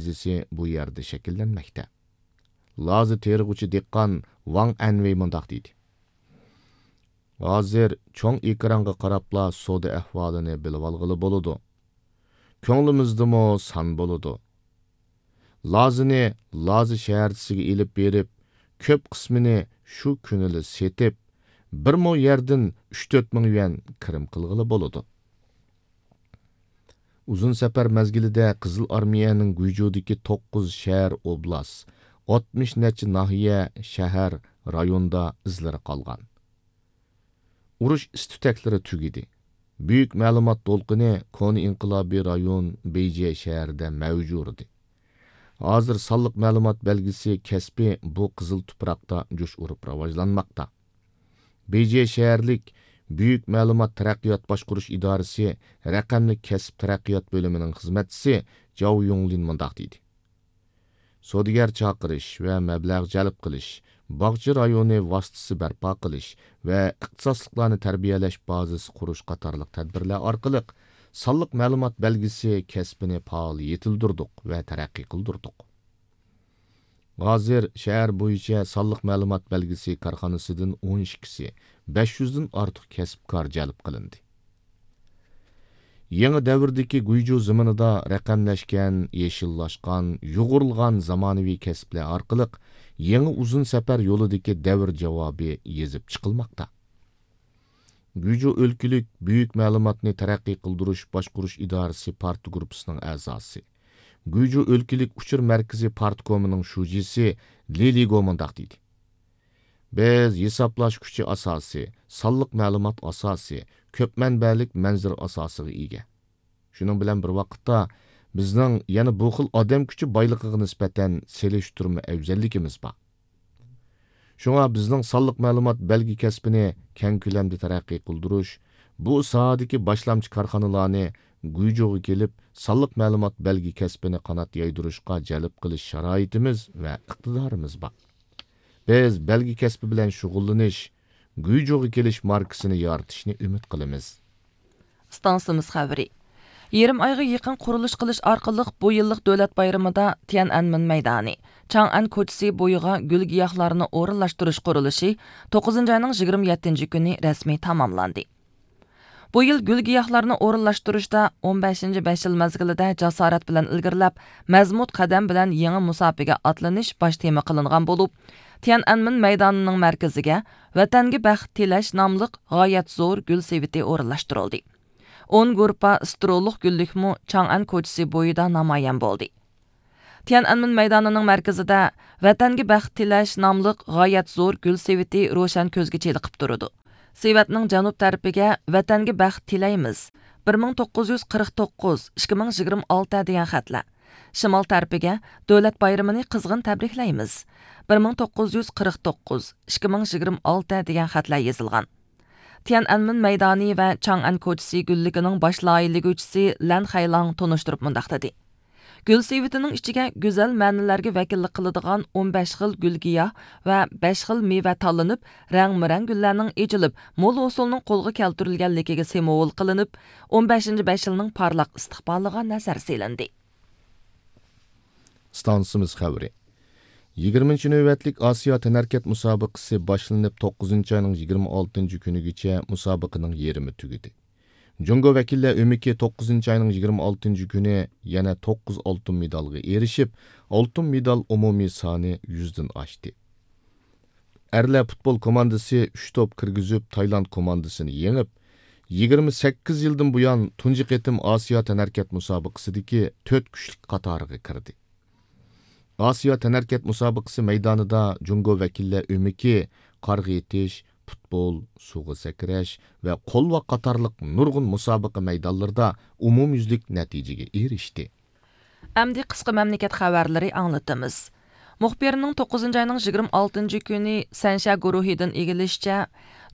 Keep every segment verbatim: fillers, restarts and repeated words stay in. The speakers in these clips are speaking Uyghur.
مەركىزى بۇ يەردە شەكىللەنمەكتە. لازا تېرىغۇچى دېھقان ۋاڭ ئەنۋېي مۇنداق دېدى: ھازىر چوڭ ئېكرانغا قاراپلا سودا ئەھۋالىنى بىلىۋالغىلى بولىدۇ. كۆڭلىمىزدىمۇ سان بولىدۇ. لازىنى لازا شەھەرچىسىگە ئېلىپ بېرىپ، كۆپ قىسمىنى شۇ كۈنىلا سېتىپ، بىر مو يەردىن ئۈچ تۆت مىڭ يۈەن كىرىم قىلغىلى بولىدۇ. ئۇزۇن سەپەر مەزگىلىدە قىزىل ئارمىيەنىڭ گۇيجۇدىكى توققۇز شەھەر، ئوبلاست، ئاتمىش نەچچە ناھىيە، شەھەر، رايوندا ئىزلىرى قالغان. ئۇرۇش ئىس-تۈتەكلىرى تۈگىدى. بۈيۈك مەلۇمات دولقۇنى كونا ئىنقىلابىي رايون بېيجې شەھىرىدە مەۋج ئۇردى. ھازىر سانلىق مەلۇمات بەلگىسى كەسپى بۇ قىزىل تۇپراقتا جۇش ئۇرۇپ راۋاجلانماقتا. بېيجې شەھەرلىك بۈيۈك مەلۇمات تەرەققىيات باشقۇرۇش ئىدارىسى رەقەملىك كەسىپ تەرەققىيات بۆلۈمىنىڭ خىزمەتچىسى جاۋ يۇڭلىن مۇنداق دېدى: سودىگەر چاقىرىش ۋە مەبلەغ جەلپ قىلىش، باغچە رايونى ۋاسىتىسى بەرپا قىلىش ۋە ئىختىساسلىقلارنى تەربىيەلەش بازىسى قۇرۇش قاتارلىق تەدبىرلەر ئارقىلىق سانلىق مەلۇمات بەلگىسى كەسپىنى پائال يېتىلدۈردۇق ۋە تەرەققىي قىلدۇردۇق. ھازىر شەھەر بويىچە سانلىق مەلۇمات بەلگىسى كارخانىسىدىن ئون ئىككىسى، بەش يۈزدىن ئارتۇق كەسىپكار جەلپ قىلىندى. يېڭى دەۋردىكى گۇيجۇ زېمىنىدا رەقەملەشكەن، يېشىللاشقان، يۇغۇرۇلغان زامانىۋى كەسىپلەر ئارقىلىق يېڭى ئۇزۇن سەپەر يولىدىكى دەۋر جاۋابى يېزىپ چىقىلماقتا. گۇيجۇ ئۆلكىلىك بۈيۈك مەلۇماتنى تەرەققىي قىلدۇرۇش باشقۇرۇش ئىدارىسى پارتگۇرۇپپىسىنىڭ ئەزاسى، گۇيجۇ ئۆلكىلىك ئۇچۇر مەركىزى پارتكومىنىڭ شۇجىسى لى لىگو مۇنداق دېدى: بىز ھېسابلاش كۈچى ئاساسى، سانلىق مەلۇمات ئاساسى، كۆپ مەنبەلىك مەنزىرە ئاساسىغا ئىگە. شۇنىڭ بىلەن بىر ۋاقىتتا، بىزنىڭ يەنە بۇ خىل ئادەم كۈچى بايلىقىغا نىسبەتەن سېلىشتۇرما ئەۋزەللىكىمىز بار. شۇڭا بىزنىڭ سانلىق مەلۇمات بەلگە كەسپىنى كەڭ كۆلەمدە تەرەققىي قىلدۇرۇش، بۇ ساھەدىكى باشلامچى كارخانىلارنى گۇيجۇغا كېلىپ، سانلىق مەلۇمات بەلگە كەسپىنى قانات يايدۇرۇشقا جەلپ قىلىش شارائىتىمىز ۋە ئىقتىدارىمىز بار. بىز بەلگە كەسپى بىلەن شۇغۇللىنىش، گۇيجۇغا كېلىش ماركىسىنى يارىتىشنى ئۈمىد قىلىمىز. ئىستانسىمىز خەۋىرى. يېرىم ئايغا يېقىن قۇرۇلۇش قىلىش ئارقىلىق بۇ يىللىق دۆلەت بايرىمىدا تيەنئەنمېن مەيدانى، چاڭئەن كوچىسى بويىغا گۈل گىياھلارنى ئورۇنلاشتۇرۇش قۇرۇلۇشى توققۇزىنچى ئاينىڭ يىگىرمە يەتتىنچى كۈنى رەسمىي تاماملاندى. بۇ يىل گۈل گىياھلارنى ئورۇنلاشتۇرۇشتا ئون بەشىنچى بەش يىل مەزگىلىدە جاسارەت بىلەن ئىلگىرىلەپ، مەزمۇت قەدەم بىلەن يېڭى مۇساپىگە ئاتلىنىش باش تېما قىلىنغان بولۇپ، تيەنئەنمېن مەيدانىنىڭ مەركىزىگە ۋەتەنگە بەخت تىلەش ناملىق غايەت زور گۈل سېۋىتى ئورۇنلاشتۇرۇلدى. ئون گۇرۇپپا سترولۇق گۈللۈكمۇ چاڭئەن كوچىسى بويىدا نامايان بولدى. تيەنئەنمېن مەيدانىنىڭ مەركىزىدە ۋەتەنگە بەخت تىلەش ناملىق غايەت زور گۈل سېۋىتى روشەن كۆزگە چېلىقىپ تۇرىدۇ. سېۋەتنىڭ جەنۇب تەرىپىگە ۋەتەنگە بەخت تىلەيمىز، بىر مىڭ توققۇز يۈز قىرىق توققۇز، ئىككى مىڭ يىگىرمە ئالتە دېگەن خەتلەر، شىمال تەرىپىگە دۆلەت بايرىمىنى قىزغىن تەبرىكلەيمىز، بىر مىڭ توققۇز يۈز قىرىق توققۇز، ئىككى مىڭ يىگىرمە ئالتە دېگەن خەتلەر يېزىلغان. تيەنئەنمېن مەيدانى ۋە چاڭئەن كوچىسى گۈللۈكىنىڭ باش لايىھىلىگۈچىسى لەن خەيلاڭ تونۇشتۇرۇپ مۇنداق دېدى: گۈل سېۋىتىنىڭ ئىچىگە گۈزەل مەنىلەرگە ۋەكىللىك قىلىدىغان ئون بەش خىل گۈل گىياھ ۋە بەش خىل مېۋە تاللىنىپ، رەڭمۇرەڭ گۈللەرنىڭ ئېچىلىپ، مول ھوسۇلنىڭ قولغا كەلتۈرۈلگەنلىكىگە سىمۋول قىلىنىپ، ئون بەشىنچى بەش يىلنىڭ پارلاق ئىستىقبالىغا نەزەر سېلىندى. ئىستانسىمىز خەۋىرى. يىگىرمىنچى نۆۋەتلىك ئاسىيا تەنھەرىكەت مۇسابىقىسى باشلىنىپ، توققۇزىنچى ئاينىڭ يىگىرمە ئالتىنچى كۈنىگىچە مۇسابىقىنىڭ يېرىمى تۈگىدى. جۇڭگو ۋەكىللەر ئۆمىكى توققۇزىنچى ئاينىڭ يىگىرمە ئالتىنچى كۈنى يەنە توققۇز ئالتۇن مېدالغا ئېرىشىپ، ئالتۇن مېدال ئومۇمىي سانى يۈزدىن ئاشتى. ئەرلەر پۇتبول كوماندىسى ئۈچ توپ كىرگۈزۈپ، تايلاند كوماندىسىنى يېڭىپ، يىگىرمە سەككىز يىلدىن بۇيان تۇنجى قېتىم ئاسىيا تەنھەرىكەت مۇسابىقىسىدىكى تۆت كۈچلۈك قاتارىغا كىردى. ئاسىيا تەنھەرىكەت مۇسابىقىسى مەيدانىدا جۇڭگو ۋەكىللەر ئۆمىكى، قارغا ئېتىش، پۇتبول، سۇغا سەكرەش ۋە قولۋاق قاتارلىق نۇرغۇن مۇسابىقە مەيدانلىرىدا ئومۇميۈزلۈك نەتىجىگە ئېرىشتى. ئەمدى قىسقا مەملىكەت خەۋەرلىرى ئاڭلىتىمىز. مۇخبىرنىڭ توققۇزىنچى ئاينىڭ يىگىرمە ئالتىنچى كۈنى سەنشيا گۇرۇھىدىن ئىگىلىشىچە،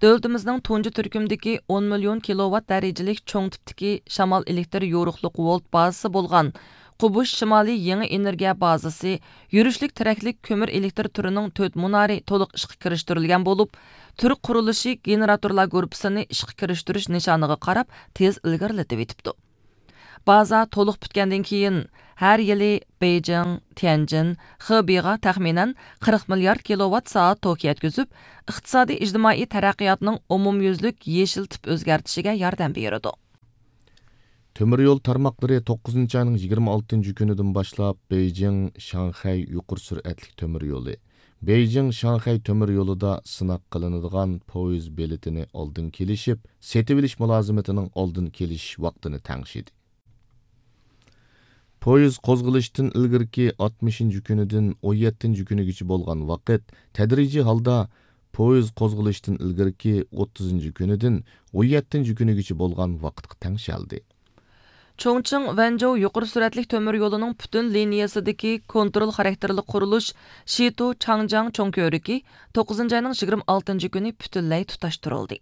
دۆلىتىمىزنىڭ تۇنجى تۈركۈمدىكى ئون مىليون كىلوۋات دەرىجىلىك چوڭ تىپتىكى شامال ئېلېكتر يورۇقلۇق ۋولت بازىسى بولغان قۇبۇش شىمالىي يېڭى ئېنېرگىيە بازىسى يۈرۈشلۈك تىرەكلىك كۆمۈر ئېلېكتر تۈرىنىڭ تۆت مۇنارى تولۇق ئىشقا كىرىشتۈرۈلگەن بولۇپ، تۈرك قۇرۇلۇشى گېنېراتورلار گۇرۇپپىسىنى ئىشقا كىرىشتۈرۈش نىشانىغا قاراپ تېز ئىلگىرىلىتىۋېتىپتۇ. بازا تولۇق پۈتكەندىن كېيىن، ھەر يىلى بېيجىڭ، تيەنجىن، خېبېيغا تەخمىنەن قىرىق مىليارد كىلوۋات سائەت توك يەتكۈزۈپ، ئىقتىسادىي ئىجتىمائىي تەرەققىياتنىڭ ئومۇميۈزلۈك يېشىل تىپ ئۆزگەرتىشىگە ياردەم بېرىدۇ. تۆمۈر يول تارماقلىرى توققۇزىنچى ئاينىڭ يىگىرمە ئالتىنچى كۈنىدىن باشلاپ بېيجىڭ، شاڭخەي يۇقىرى سۈرئەتلىك تۆمۈر يولى، بېيجىڭ، شاڭخەي تۆمۈر يولىدا سىناق قىلىنىدىغان پويىز بېلىتىنى ئالدىن كېلىشىپ، سېتىۋېلىش مۇلازىمىتىنىڭ ئالدىن كېلىش ۋاقتىنى تەڭشىدى. پويىز قوزغىلىشتىن ئىلگىرىكى ئاتمىشىنچى كۈنىدىن ئون يەتتىنچى كۈنىگىچە بولغان ۋاقىت تەدرىجىي ھالدا پويىز قوزغىلىشتىن ئىلگىرىكى ئوتتۇزىنچى كۈنىدىن ئون يەتتىنچى كۈنىگىچە بولغان ۋاقىتقا تەڭشەلدى. چۇڭچىڭ ۋەنجۇ يۇقىرى سۈرئەتلىك تۆمۈر يولىنىڭ پۈتۈن لىنىيەسىدىكى كونترول خاراكتېرلىك قۇرۇلۇش شىتۇ چاڭجياڭ چوڭ كۆۋرۈكى توققۇزىنچى ئاينىڭ يىگىرمە ئالتىنچى كۈنى پۈتۈنلەي تۇتاشتۇرۇلدى.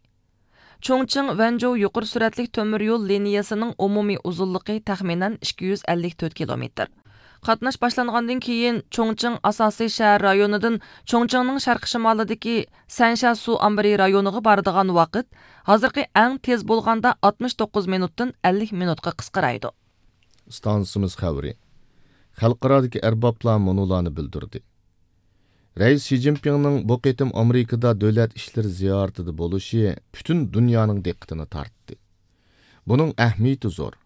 چۇڭچىڭ ۋەنجۇ يۇقىرى سۈرئەتلىك تۆمۈر يول لىنىيەسىنىڭ ئومۇمىي ئۇزۇنلۇقى تەخمىنەن ئىككى يۈز ئەللىك تۆت كىلومېتىر. قاتناش باشلانغاندىن كېيىن، چۇڭچىڭ ئاساسىي شەھەر رايونىدىن چۇڭچىڭنىڭ شەرقىي شىمالىدىكى سەنشيا سۇ ئامبىرى رايونىغا بارىدىغان ۋاقىت ھازىرقى ئەڭ تېز بولغاندا ئاتمىش توققۇز مىنۇتتىن ئەللىك مىنۇتقا قىسقىرايدۇ. ئىستانسىمىز خەۋىرى. خەلقئارادىكى ئەربابلار مۇنۇلارنى بىلدۈردى. رەئىس شى جىنپىڭنىڭ بۇ قېتىم ئامېرىكىدا دۆلەت ئىشلىرى زىيارىتىدە بولۇشى پۈتۈن دۇنيانىڭ دىققىتىنى تارتتى. بۇنىڭ ئەھمىيىتى زور.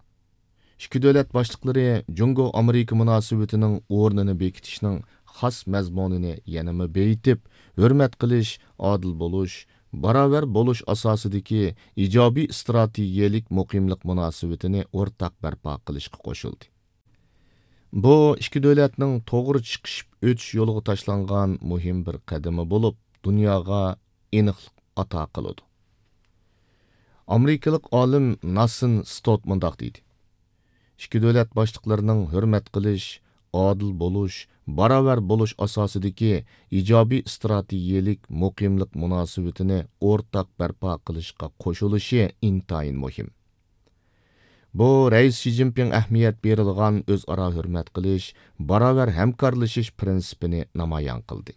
ئىككى دۆلەت باشلىقلىرى جۇڭگو ئامېرىكا مۇناسىۋىتىنىڭ ئورنىنى بېكىتىشنىڭ خاس مەزمۇنىنى يەنىمۇ بېيىتىپ، ھۆرمەت قىلىش، ئادىل بولۇش، باراۋەر بولۇش ئاساسىدىكى ئىجابىي ئىستراتېگىيەلىك مۇقىملىق مۇناسىۋىتىنى ئورتاق بەرپا قىلىشقا قوشۇلدى. بۇ ئىككى دۆلەتنىڭ توغرا چىقىشىپ ئۆتۈش يولىغا تاشلانغان مۇھىم بىر قەدىمى بولۇپ، دۇنياغا ئېنىقلىق ئاتا قىلىدۇ. ئامېرىكىلىق ئالىم ناسىن ستوت مۇنداق دېدى: «ئىككى دۆلەت باشلىقلىرىنىڭ ھۆرمەت قىلىش، ئادىل بولۇش، باراۋەر بولۇش ئاساسىدىكى ئىجابىي ئىستراتېگىيەلىك مۇقىملىق مۇناسىۋىتىنى ئورتاق بەرپا قىلىشقا قوشۇلۇشى ئىنتايىن مۇھىم.» بۇ رەئىس شى جىنپىڭ ئەھمىيەت بېرىدىغان ئۆزئارا ھۆرمەت قىلىش، باراۋەر ھەمكارلىشىش پىرىنسىپىنى نامايان قىلدى.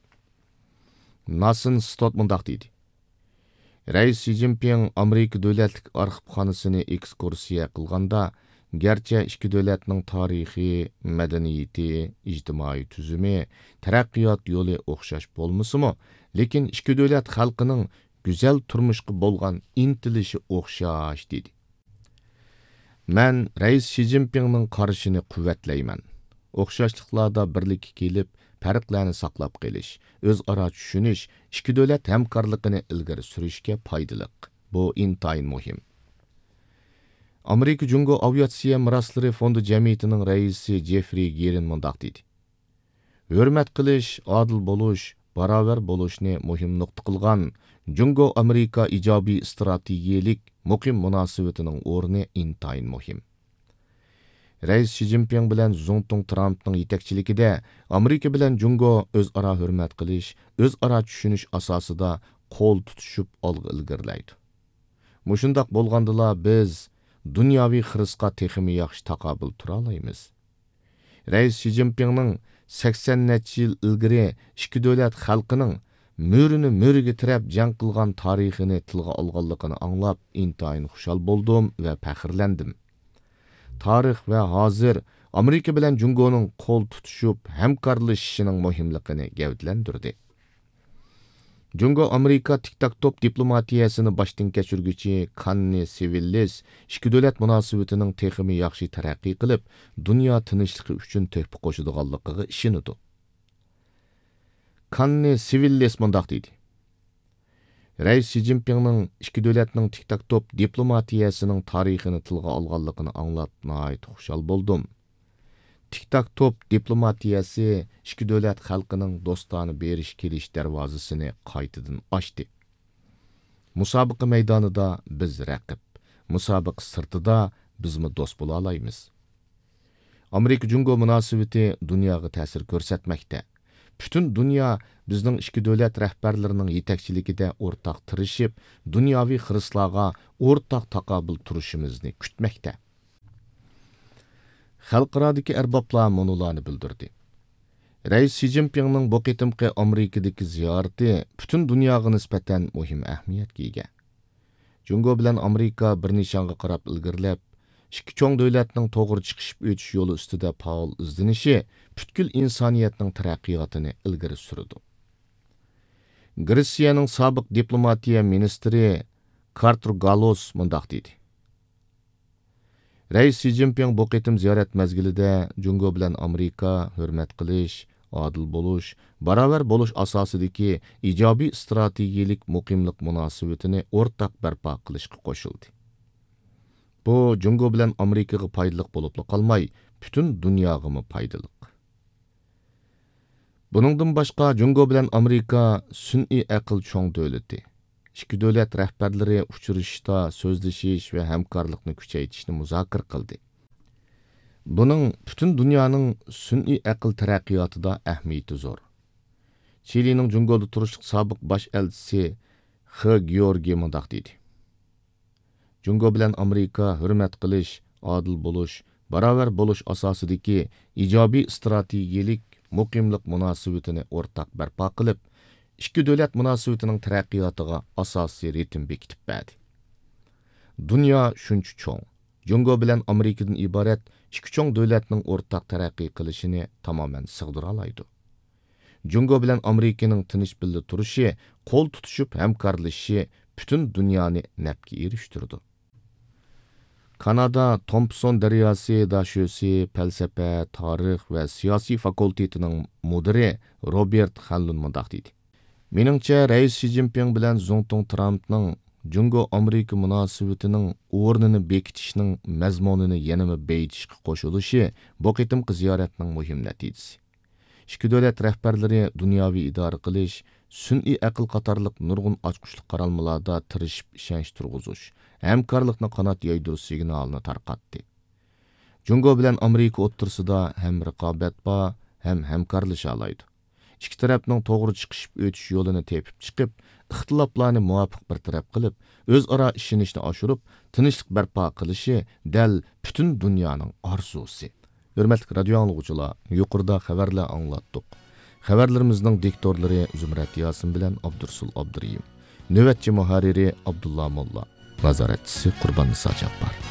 ناسىن ستوت مۇنداق دېدى: «رەئىس شى جىنپىڭ ئامېرىكا دۆلەتلىك ئارخىپخانىسىنى ئېكسكۇرسىيە قىلغاندا، گەرچە ئىككى دۆلەتنىڭ تارىخى، مەدەنىيىتى، ئىجتىمائىي تۈزۈمى، تەرەققىيات يولى ئوخشاش بولمىسىمۇ، لېكىن ئىككى دۆلەت خەلقىنىڭ گۈزەل تۇرمۇشقا بولغان ئىنتىلىشى ئوخشاش» دېدى. «مەن رەئىس شى جىنپىڭنىڭ قارىشىنى قۇۋۋەتلەيمەن. ئوخشاشلىقلاردا بىرلىككە كېلىپ، پەرقلەرنى ساقلاپ قېلىش، ئۆزئارا چۈشىنىش ئىككى دۆلەت ھەمكارلىقىنى ئىلگىرى سۈرۈشكە پايدىلىق. بۇ ئىنتايىن مۇھىم.» ئامېرىكا جۇڭگو ئاۋىئاتسىيە مىراسلىرى فوندى جەمئىيىتىنىڭ رەئىسى جېفرى گېرىن مۇنداق دېدى: «ھۆرمەت قىلىش، ئادىل بولۇش، باراۋەر بولۇشنى مۇھىم نۇقتا قىلغان جۇڭگو ئامېرىكا ئىجابىي ئىستراتېگىيەلىك مۇقىم مۇناسىۋىتىنىڭ ئورنى ئىنتايىن مۇھىم. رەئىس شى جىنپىڭ بىلەن زۇڭتۇڭ ترامپنىڭ يېتەكچىلىكىدە ئامېرىكا بىلەن جۇڭگو ئۆزئارا ھۆرمەت قىلىش، ئۆزئارا چۈشىنىش ئاساسىدا قول تۇتۇشۇپ ئالغا ئىلگىرىلەيدۇ. مۇشۇنداق بولغاندىلا بىز دۇنياۋى خىرىسقا تېخىمۇ ياخشى تاقابىل تۇرالايمىز. رەئىس شى جىنپىڭنىڭ سەكسەن نەچچە يىل ئىلگىرى ئىككى دۆلەت خەلقىنىڭ مۈرىنى مۈرىگە تىرەپ جەڭ قىلغان تارىخىنى تىلغا ئالغانلىقىنى ئاڭلاپ ئىنتايىن خۇشال بولدۇم ۋە پەخىرلەندىم. تارىخ ۋە ھازىر ئامېرىكا بىلەن جۇڭگونىڭ قول تۇتۇشۇپ ھەمكارلىشىشىنىڭ مۇھىملىقىنى گەۋدىلەندۈردى.» جۇڭگو ئامېرىكا تىك تاك توپ دىپلوماتىيەسىنى باشتىن كەچۈرگۈچى كاننى سىۋىللىس ئىككى دۆلەت مۇناسىۋىتىنىڭ تېخىمۇ ياخشى تەرەققىي قىلىپ، دۇنيا تىنچلىقى ئۈچۈن تۆھپە قوشىدىغانلىقىغا ئىشىنىدۇ. كاننى سىۋىللىس مۇنداق دېدى: «رەئىس شى جىنپىڭنىڭ ئىككى دۆلەتنىڭ تىك تاك توپ دىپلوماتىيەسىنىڭ تارىخىنى تىلغا ئالغانلىقىنى ئاڭلاپ ناھايىتى خۇشال بولدۇم. تىك تاك توپ دىپلوماتىيەسى ئىككى دۆلەت خەلقىنىڭ دوستانە بېرىش كېلىش دەرۋازىسىنى قايتىدىن ئاچتى. مۇسابىقە مەيدانىدا بىز رەقىب، مۇسابىقە سىرتىدا بىزمۇ دوست بولالايمىز. ئامېرىكا جۇڭگو مۇناسىۋىتى دۇنياغا تەسىر كۆرسەتمەكتە. پۈتۈن دۇنيا بىزنىڭ ئىككى دۆلەت رەھبەرلىرىنىڭ يېتەكچىلىكىدە ئورتاق تىرىشىپ، دۇنياۋى خىرىسلارغا ئورتاق تاقابىل تۇرۇشىمىزنى كۈتمەكتە.» خەلقئارادىكى ئەربابلار مۇنۇلارنى بىلدۈردى. رەئىس شى جىنپىڭنىڭ بۇ قېتىمقى ئامېرىكىدىكى زىيارىتى پۈتۈن دۇنياغا نىسبەتەن مۇھىم ئەھمىيەتكە ئىگە. جۇڭگو بىلەن ئامېرىكا بىر نىشانغا قاراپ ئىلگىرىلەپ، ئىككى چوڭ دۆلەتنىڭ توغرا چىقىشىپ ئۆتۈش يولى ئۈستىدە پائال ئىزدىنىشى پۈتكۈل ئىنسانىيەتنىڭ تەرەققىياتىنى ئىلگىرى سۈرىدۇ. گرېتسىيەنىڭ سابىق دىپلوماتىيە مىنىستىرى كارتېر گالوس مۇنداق دېدى: رەئىس شى جىنپىڭ بۇ قېتىم زىيارەت مەزگىلىدە جۇڭگو بىلەن ئامېرىكا ھۆرمەت قىلىش، ئادىل بولۇش، باراۋەر بولۇش ئاساسىدىكى ئىجابىي ئىستراتېگىيەلىك مۇقىملىق مۇناسىۋىتىنى ئورتاق بەرپا قىلىشقا قوشۇلدى. بۇ جۇڭگو بىلەن ئامېرىكىغا پايدىلىق بولۇپلا قالماي، پۈتۈن دۇنياغىمۇ پايدىلىق. بۇنىڭدىن باشقا، جۇڭگو بىلەن ئامېرىكا سۈنئىي ئەقىل چوڭ دۆلىتى. ئىككى دۆلەت رەھبەرلىرى ئۇچرىشىشتا سۆزلىشىش ۋە ھەمكارلىقنى كۈچەيتىشنى مۇزاكىرە قىلدى. بۇنىڭ پۈتۈن دۇنيانىڭ سۈنئىي ئەقىل تەرەققىياتىدا ئەھمىيىتى زور. چىلىنىڭ جۇڭگودا تۇرۇشلۇق سابىق باش ئەلچىسى خې گېئورگې مۇنداق دېدى: جۇڭگو بىلەن ئامېرىكا ھۆرمەت قىلىش، ئادىل بولۇش، باراۋەر بولۇش ئاساسىدىكى ئىجابىي ئىستراتېگىيەلىك مۇقىملىق مۇناسىۋىتىنى ئورتاق بەرپا قىلىپ، ئىككى دۆلەت مۇناسىۋىتىنىڭ تەرەققىياتىغا ئاساسىي رىتىم بېكىتىپ بەردى. دۇنيا شۇنچە چوڭ، جۇڭگو بىلەن ئامېرىكىدىن ئىبارەت ئىككى چوڭ دۆلەتنىڭ ئورتاق تەرەققىي قىلىشىنى تامامەن سىغدۇرالايدۇ. جۇڭگو بىلەن ئامېرىكىنىڭ تىنچ بىللە تۇرۇشى، قول تۇتۇشۇپ ھەمكارلىشىشى پۈتۈن دۇنيانى نەپكە ئېرىشتۈرىدۇ. كانادا تومپسون دەرياسى داشۆسى پەلسەپە، تارىخ ۋە سىياسىي فاكۇلتېتىنىڭ مۇدىرى روبېرت خەنلۇن مۇنداق دېدى: مېنىڭچە، رەئىس شى جىنپىڭ بىلەن زۇڭتۇڭ ترامپنىڭ جۇڭگو ئامېرىكا مۇناسىۋىتىنىڭ ئورنىنى بېكىتىشنىڭ مەزمۇنىنى يەنىمۇ بېيىتىشقا قوشۇلۇشى بۇ قېتىمقى زىيارەتنىڭ مۇھىم نەتىجىسى. ئىككى دۆلەت رەھبەرلىرى دۇنياۋى ئىدارە قىلىش، سۈنئىي ئەقىل قاتارلىق نۇرغۇن ئاچقۇچلۇق قارالمىلاردا تىرىشىپ ئىشەنچ تۇرغۇزۇش، ھەمكارلىقنى قانات يايدۇرۇش سىگنالىنى تارقاتتى. جۇڭگو بىلەن ئامېرىكا ئوتتۇرىسىدا ھەم رىقابەت بار، ھەم ھەمكارلىشالايدۇ. ئىككى تەرەپنىڭ توغرا چىقىشىپ ئۆتۈش يولىنى تېپىپ چىقىپ، ئىختىلاپلارنى مۇۋاپىق بىر تەرەپ قىلىپ، ئۆزئارا ئىشىنىشنى ئاشۇرۇپ، تىنچلىق بەرپا قىلىشى دەل پۈتۈن دۇنيانىڭ ئارزۇسى. ھۆرمەتلىك رادىيو ئاڭلىغۇچىلار، يۇقىرىدا خەۋەرلەر ئاڭلاتتۇق. خەۋەرلىرىمىزنىڭ دىكتورلىرى زۇمرەت ياسىن بىلەن ئابدۇرۇسۇل ئابدۇرېھىم. نۆۋەتچى مۇھەررىرى ئابدۇللا موللا. نازارەتچىسى قۇرباننىسا جاپپار.